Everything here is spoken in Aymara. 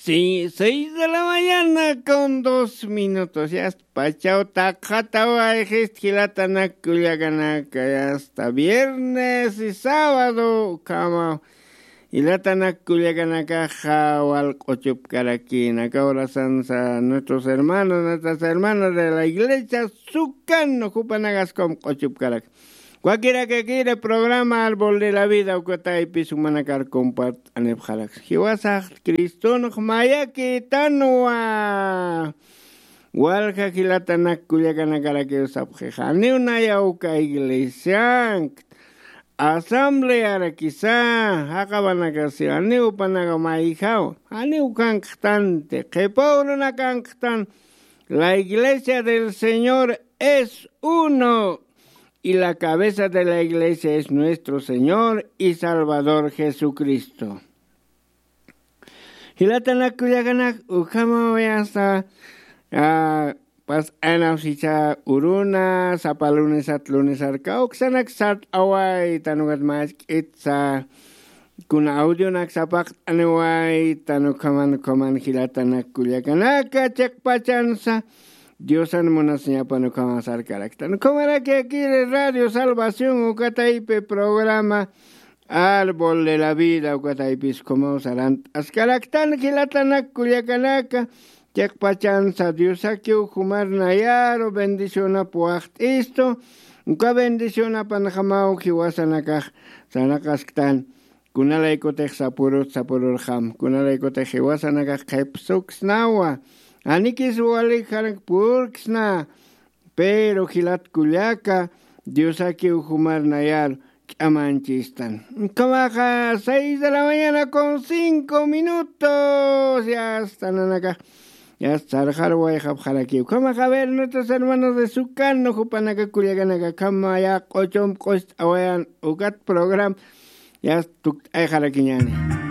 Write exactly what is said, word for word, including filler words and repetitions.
Sí, seis de la mañana con dos minutos. Ya está, pachaw taqjatawayxist jilatanak kullakanaka, ya está viernes y sábado ukhama. Jilatanak kullakanakaxa wal q'uchupkarakïna, aka horasansa nuestros hermanos, nuestras hermanas de la iglesia Sukan, jupanakas ukham q'uchupkarak. Wakirakakiri programa Árbol de la Vida ukataypis jumanakar compart'anipxarak. Jiwasax Cristonx mayakïtanwa. Walja jilatanak kullakanakarakiw sapxixa. Janiw nayaw uka iglesiankt, asamblearakisa, jaqapanakasiw, janiw jupanaka mayjaw, janiw kankxtanti, qhipa urunakanxtan. La iglesia del Señor es uno, y la cabeza de la iglesia es nuestro Señor y Salvador Jesucristo. Jilatanak kullakanak, ukhamaw ya está, ah, pasanaw sicha uruna, sapa lunesat lunesar kawksanak sart'awaytan, ukat mask'itsa, kuna audionak sapaqt'aniwaytan, ukhaman, ukhaman jilatanak kullakanaka, chiqpachansa, Diosan munasiñapan ukhama sarkaraktan. Ukhamaraki akiri Radio Salvación ukataypi programa Árbol de la Vida ukataypis ukhamaw sarant'askaraktan jilatanak kullakanaka, chiqpachansa Diosakiw jumar nayaru bendicionap waxt'istu, uka bendicionapanxamaw jiwasanakax sarnaqasktan. Kunalaykutix sapurut sapururxam, kunalaykutix jiwasanakax qhipsuksnawa, anikis wali janak purksna, pero jilat kullaka, Diosakiw jumar nayar ch'amanchistan. Ukhamaxa seis de la mañana con cinco minutos, ya está nanakax, ya está sarxar wayxapxarakiw. Ukhamaxa, a ver, nuestros hermanos de Sukan, jupanaka kullakanaka, ukhama ya q'uchump q'ust'awayan ukat programa, ya tukt'ayxarakiñani.